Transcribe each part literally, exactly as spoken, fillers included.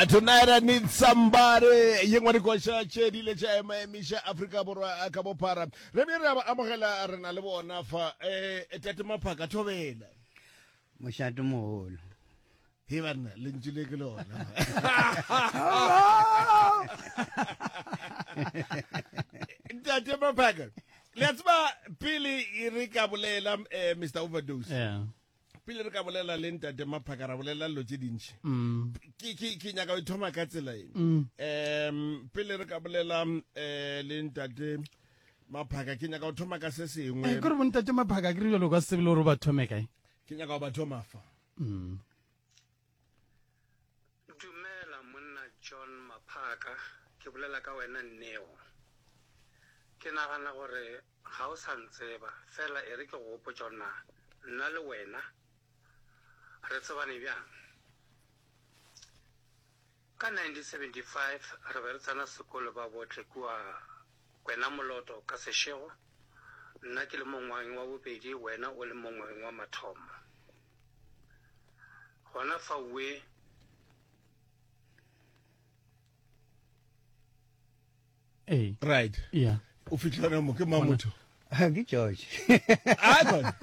Tonight I need somebody. Ye nngwe dikoša tše di ile tša ema emiša Afrika Borwa ka bophara. Re be re a ba amogela re na le bona fa. Eh Tate Maphaka thobela. Mošate mogolo. He banna lentšu le ke lona. Ntate Maphaka. Le a tseba pele re ka bolela eh Mister Overdose. Yeah. Pele re ka bolela le Ntate Maphaka ra bolela dilo tše dintši. Mm. Ke ke ke nyaka go thoma ka tsela e. Mm. Um pele re ka bolela eh le Ntate Maphaka ke nyaka go thoma ka se sengwe. Eh, kore bo Ntate Maphaka ke re jalo ka se tsebe le gore ba thome kae. Ke nyaka go ba thoma fa. Mm. Dumela monna John Maphaka, ke bolela ka wena Neo. Ke nagana gore ga o sa ntseba, fela e re ke go gopotša gore na nna le wena re tsebane bjang. Ka nineteen seventy-five re be re tsena sekolo ba bohle kua Kwena Moloto ka Seshego, nna ke le mo ngwageng wa bobedi, wena o le mo ngwageng wa mathomo. Gona faue Ee. Right. Yeah. O fitlhela mo ke mang motho? Ke George. Ah, God.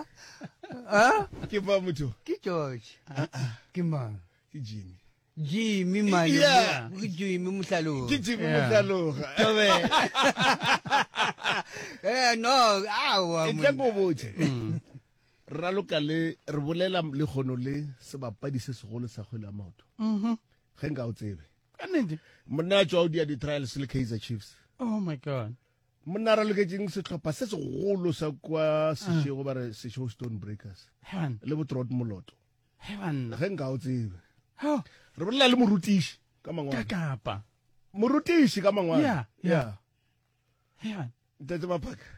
Ah? Ke mang motho? Ke George. Ke mang? Ke Jimmy. Jimmy man. Yeah. Ke Jimmy Mohlaloga. Ke Jimmy Yeah. Mohlaloga. Tobe. Eh no, awa. E tla go botse. Raloka le re bolela le kgono le sebapadi se segolo sa kgwele ya maoto. Mhm. Ge nka o tsebe. Ka nnete. Monna a tswa o dia di-trials le Kaizer Chiefs. Oh my God. Monna a raloketseng sehlopha se segolo sa kwa Seshego ba re Seshego Stone Breakers. Heaven. Le bo Trot Moloto. Heaven. Ge nka o tsebe. Oh. Re bolela le morutiši ka mangwalo. Ka kapa. Morutiši ka mangwalo. Yeah, yeah. Heaven. Ntate Maphaka.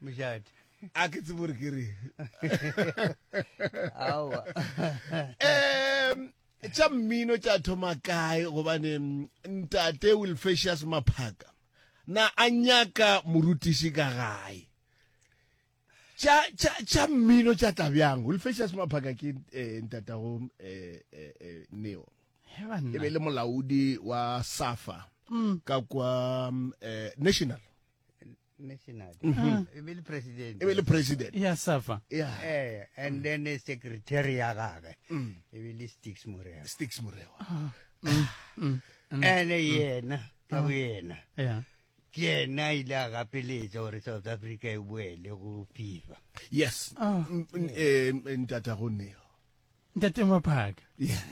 Mojate. A ke tsebe gore ke reng. Aowa. Em tša mmino tša thoma kae gobane Ntate Wilfesius Maphaka na a nyaka morutiši ka gae. Tša tša tša mmino tša tla bjang? Wilfesius Maphaka ke eh, ntatago eh, eh, eh, Neo. Heaven. E be le molaodi wa SAFA Mm. ka kwa eh, National. National. Mhm. E be le president. E be le president. Ya SAFA. Yeah. Eh, and then the secretary ya gagwe. Mm. E be le Stix Morewa. Stix Morewa. Ah. Mm. Mm. Mm. Ene yena, ka boyena. Yeah. Ke yena a ile a gapeletša gore South Africa e boele go FIFA. Yes. Ah. Eh, ntatago Neo. Ntate Maphaka. Yeah.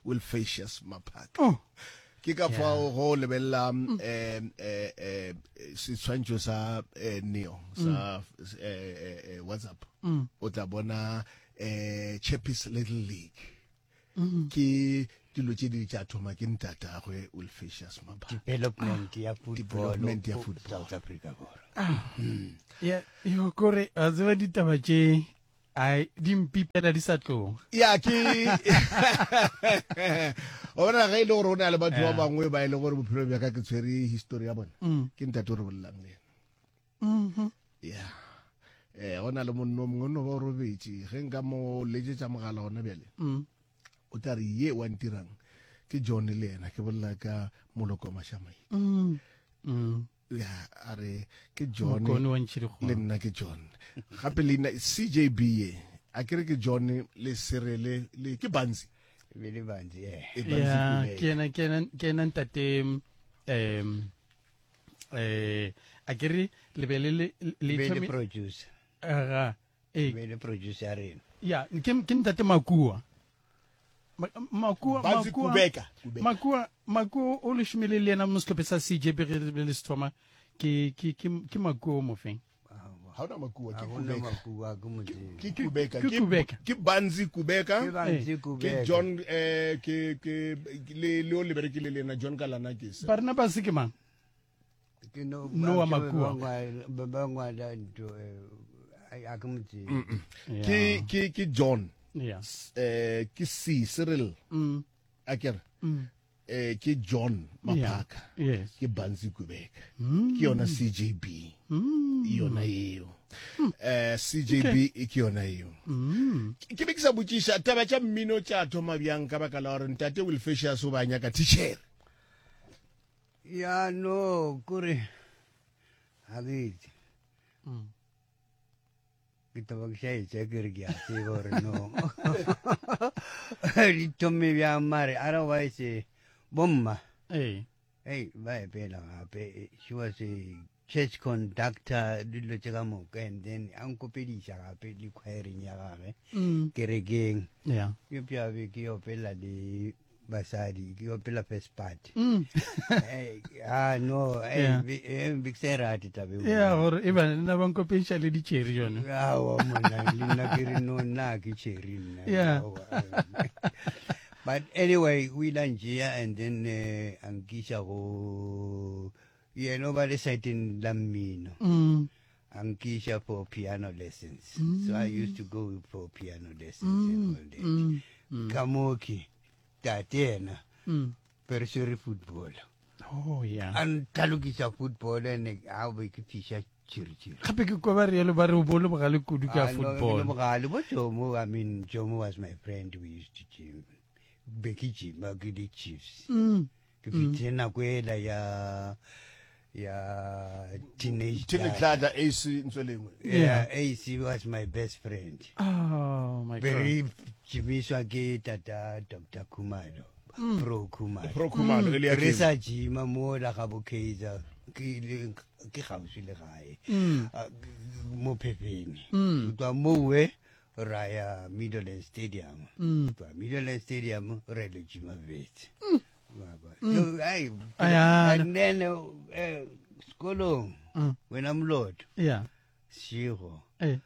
Wilfesius Maphaka. Oh. Ke ka fao go lebelela eh eh eh setshwantšho sa eh, Neo sa eh, eh, WhatsApp. Mm. O tla bona eh Chappies Little League. Mm. Ke dilo tše di tša thoma ke ntatagwe Wilfesius Maphaka. Development ya football. Development ya football. South Africa borwa. Ah. Yeah, yo kore a tseba ditaba tše ai di mpipela di sa tloga. Ya ke o bona ge e le gore o na le batho ba Yeah. bangwe ba e le gore bophelo bja ka ke tshwere history ya bona. Mm. Ke ntate o re bolelang le yena. Mhm. Yeah. Eh go na le monno o mongwe o no ba o robetše ge nka mo letsetša mogala gona bjale. Mm. O tla re ye wa ntirang ke John le yena ke bolela ka Moloko Mashamaite. Mm. Mm. Ya a re ke John Mokone wa Ntšhirikgong. le nna ke John. Gape leina C J B ye a ke re ke John le Serele le ke Banzi. E be le Banzi, eh. E Banzi Yeah, Kubeka. ke yena ke yena ke yena ntate em eh a ke re le be le le le Be le thome- producer. Aga, eh. Be le producer ya rena. Ya, ke ke ntate Makua. Ma- Makua, Banzi Makua, Kubeka, Kubeka. Makua, Makua o le šomile le yena mo sehlophe sa C J B ge le se thoma. Ke ke ke ke Makua o mofeng. Ha ona Makua, ke Ha hona Kubeka. Makua, ke Modimo. Ke Kubeka, Ke ke Kubeka. Ke Banzi Kubeka. Ke Banzi Ke Kubeka. John eh ke ke le le o le berekile le yena John Kalanakis. Barnabas ke mang? Ke no Noah ba Makua. ba ba ngwala ntho eh a ke mo tsebe. Mm, mm. Ke ke ke John. Yeah. Eh ke C Cyril. Mm. A ke re. Mm. Eh ke John Maphaka. Yeah. Yes. Ke Banzi Kubeka. Mm. Ke yona C J B. Mm. Yona eo. Eh C J B e ke yona eo. Mm. Ke be ke sa botšiša taba tša mmino tša thoma bjang, ka baka la gore ntate Wilfesius o ba nyaka teacher. Ya, no, kore ga ke itse. Mm. Ke taba ke šaetša ke re ke a tseba gore no di thome bjang, mare otherwise bomma Ee. Ei, ba epela gape. She was a church conductor, dilo tše ka moka, and then a nkopediša gape le choireng ya gage Mm. kerekeng. Yeah. Eupša be ke opela le basadi, ke opela first part. Mm. Eh, ah no, eh, Yeah. be eh, be ke sa e rate taba eo. Ya, gore e ba nna ba nkopediša le ditšheri yone. Aowa monna, le nna ke re no, nna ke cherry nna. Yeah. Aowa. But anyway, o ile a ntšea and then eh, a nkiša go yena, o ba le siteng la mmino. Mm. A nkiša for piano lessons, so I used to go for piano lessons and all that. Mm. Mm. Ka mo ke tate yena Mm. be re swere football. Oh yeah. A ntlhalokisa football, and a be ke fiša tšhiritšhiri. Gape ke kwa ba rialo, ba re o bo le bogale kudu ka Ah, no, football. ke le bogale bo Jomo. I mean, Jomo was my friend. We used to gym, be ke gyma ke di Chiefs. Mm. Ke fitlhile nako ela ya ya teenage. Teenage Dladla. Dladla, A C Ntswelengwe. Yeah, A C was my best friend. Oh my Be God. re gymiswa ke tata Doctor Khumalo, Pro Khumalo. Pro Khumalo e le ya Re Keng. sa gyma mola ga bo Kaizer, ke ile- ke gaufi le gae. Mm. Ah, mo Phefeni. Mm. Go tloga mowe ra ya Middleland Stadium. Mm. Go tloga Middleland Stadium re le gyma Wits. So, ai, Ayana. and then eh, sekolong Mm. wena Moloto Yeah. sego Eh.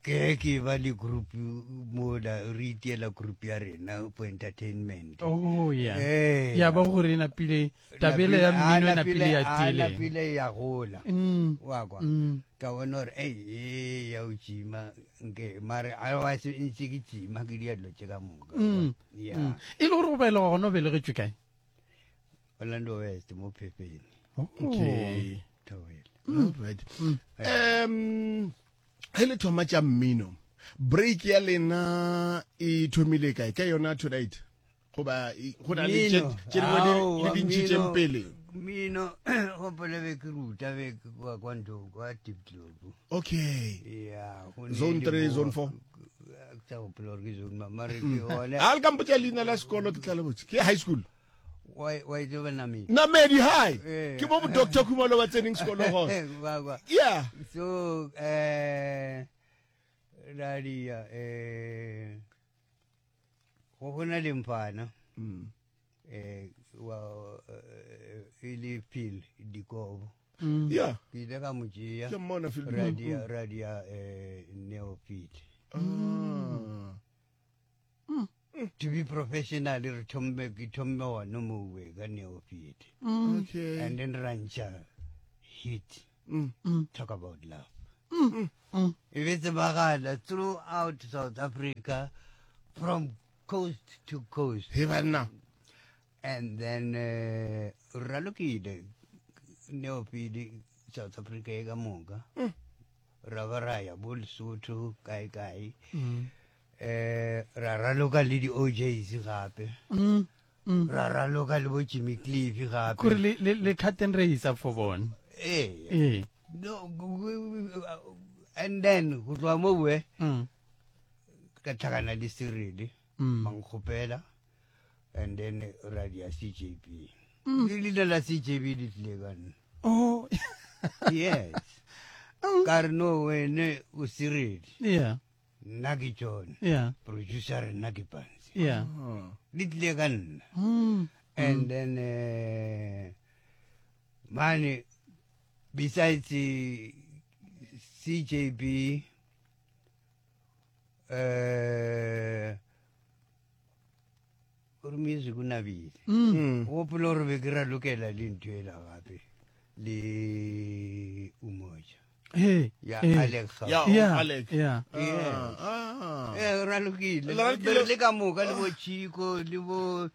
ke ke ba le group mola, re itiela group ya rena for entertainment. Oh yeah. Eh. Ya ba gore e napile tabele ya Ah, mmino e napile ya ah, tile. napile ya gola. Mm. Wa kwa. Mm. Ka bona gore ei e ya o gyma nke, mare otherwise ntse ke gyma ke dia dilo tše ka moka. Mm. Ya. Mm. E le gore go belega gona, o belegetšwe kae? Orlando West, mo Phefeni. Oh. Okay. Thobela. Alright. Um ge le thoma tša mmino, break ya lena e thomile kae? Ka yona tonight goba e- go na le tše Mmino. tše dingwe di- Aowa, le di ntšhitšeng mmino- pele? Mmino gopola be ke ruta be ke kwa kwa ntho kwa Diepkloof. Okay. Ya, go ne Zone le three, mo- zone four. Ke sa gopola gore ke zone ma- mare ke gona. A le ka mpotša leina la sekolo ke tla le botse. Ke high school? Wa wa itse ba Namedi. Namedi High. Eh. Ke mo bo Doctor Khumalo ba tseneng sekolo gona. Wa kwa. Yeah. So eh radia eh go gona le mfana Mm. eh wa eh, e le Phil Dikobo. Mm. Yeah. Ke ile ka mo tšea. Ke mmona Phil Dikobo. Radia radia eh Neopit. Ah. To be professional, re thomme ke thomme gona mowe ka Neopit. Mm. Okay. And then rancha hit Mm. Mm. Talk About Love. Mm. E be tsebagala throughout South Africa, from coast to coast. He banna. And then uh, ralokile Neopit South Africa e ka moka. Ra ba ra ya bo Lesotho kae kae. Mm. Eh ra raloka le di O Js gape. Mm. Mm. Ra raloka le bo Jimmy Cliff gape. Kore le le le cut and raise for bona. Eh. Eh. No, and then go tloga mowe Mm. ka tlhakana le Cyril. Mm. Bankgopela and then ra dia C J B. Le leina la C J B le tlile ka nna. Oh. Yes, ka re no, wene o Cyril, Yeah. nna ke John, Yeah. producer nna ke Pansi. Yeah. Le tlile ka nna. Mm. And then uh, mane besides eh, C J B, eh gore music o nabile. Mm. Gopola gore be ke ralokela le ntho ela gape le Umoja Hey. ya eh. Alex Gauke. Ya. Yeah. Alec. Yeah. Yes. Ah. Eh, ralokile. Le ralokile. Be re le ka moka le bo Chico le bo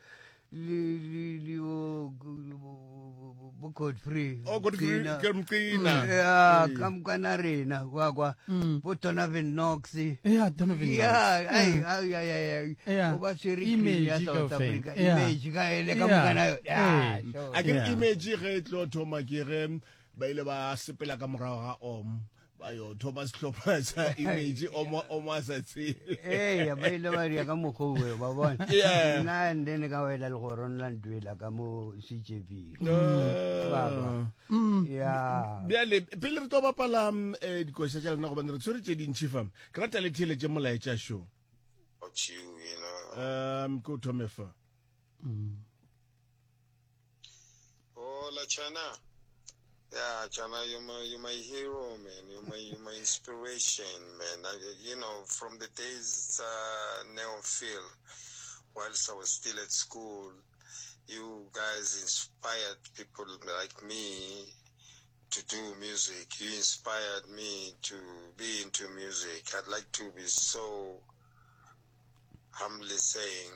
le le le bo bo- bo Godfrey Oh, Godfrey Mqina. ke Mqina. ya ka mokana rena wa kwa bo Donovan Knox Yeah, Donovan Knox. ya ai ai ai ai Yeah. o ba swere Image cream ya South kaofela. Africa Yeah. image ka ele ka Yeah. mokana yona. Ya, Ee. sure. A ke re Yeah. image ge e tlo thoma ke ge ba ile ba sepela ka morago ga om ba yo thoma sehlopha sa image omo omo a sa tsebe ee ba ile ba dia ka mokgwa oe ba bona Yeah. nna and then ka wela legorong la ntwela ka mo C J B Ah. ya bjale pele re tlo bapala mm, eh, dikoša tša lena gobane re tshwere tše dintšhi fa ke rata le theeletše molaetša šo About you, you know. um ke o thome fa Hola, Chana. Yeah, Chana, you're my, you're my hero, man. You're my, you're my inspiration, man. I, you know, from the days uh, Neo Phil, whilst I was still at school, you guys inspired people like me to do music. You inspired me to be into music. I'd like to be so humbly saying,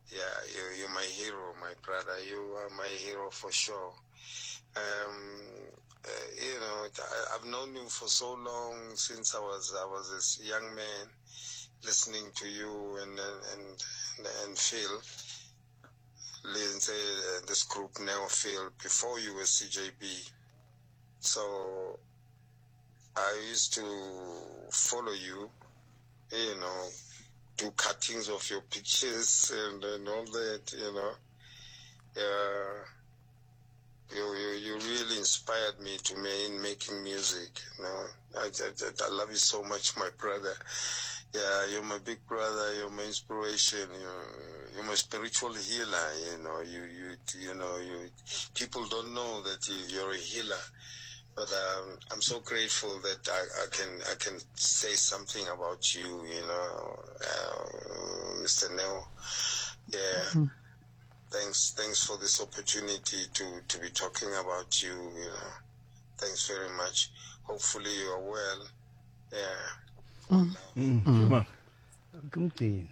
yeah, you, you're my hero, my brother. You are my hero for sure. Um, uh, you know, I, I've known you for so long, since I was, I was this young man, listening to you and, and, and, and Phil, Lindsay, uh, this group Neo Phil, before you were C J B. So I used to follow you, you know, do cuttings of your pictures and, and all that, you know. Yeah. You, you, you really inspired me to me in making music, you know. I, I, I love you so much, my brother. Yeah, you're my big brother. You're my inspiration. You're, you're my spiritual healer. You know, you, you, you know, you people don't know that you, you're a healer, but, um, I'm so grateful that I, I can, I can say something about you. You know, uh, Mister Neo. Yeah. Mm-hmm. Thanks, thanks for this opportunity to, to be talking about you, you know. Thanks very much. Hopefully you are well. Yeah. Mm. Mm. Ma. Ke motena.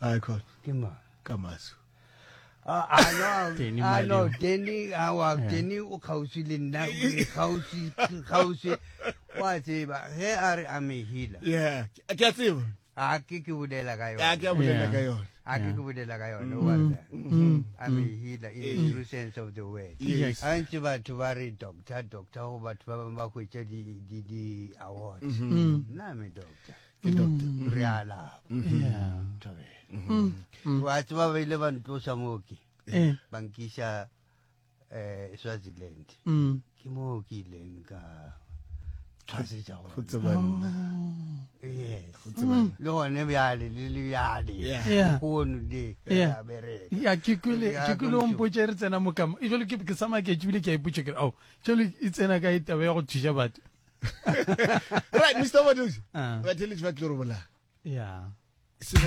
Ai khona. Ke ma. Ka maso. Ah, ah, no, Teni ah, no, Mali. Teni, ah, wa, Teni o kgauswi le nna, o kgauswi, kgauswi. Wa tseba, ge a re a me healer. Yeah, ke a tseba. A ke ke bolela ka A ke yona. a bolela Yeah. ka yona. A ke ke bolela ka yona, wa tseba. I'm a healer in the true sense of the word. Yes. A ntse batho ba re doctor, doctor, go batho ba bangwe ba hwetša di, di, di awards. Mm. Nna I'm a doctor. Ke doctor. Re a lapa. Yeah. Thabela. Wa tseba ba ile ba ntlosa moo ke. Eh. Ba nkiša, eh, Swaziland. Mm. Ke moo ke ileng ka tshwasetša Go gona. tseba nna. Yes. Go tseba nna. Le gone bjale, le le bjale. Yeah. Yeah. Lehono le, Yeah. re a bereka. Ya, ke kwele, Ya, ke kwele o ka mpotša re tsena mo kamo. E jwale ke, ke sa maketše ebile ke a ipotša ke re, ao, jwale e tsena kae taba ya go thuša batho? Right, Mister Overdose. Ah. Batheletši ba tlo re bolaya. Yeah. Se se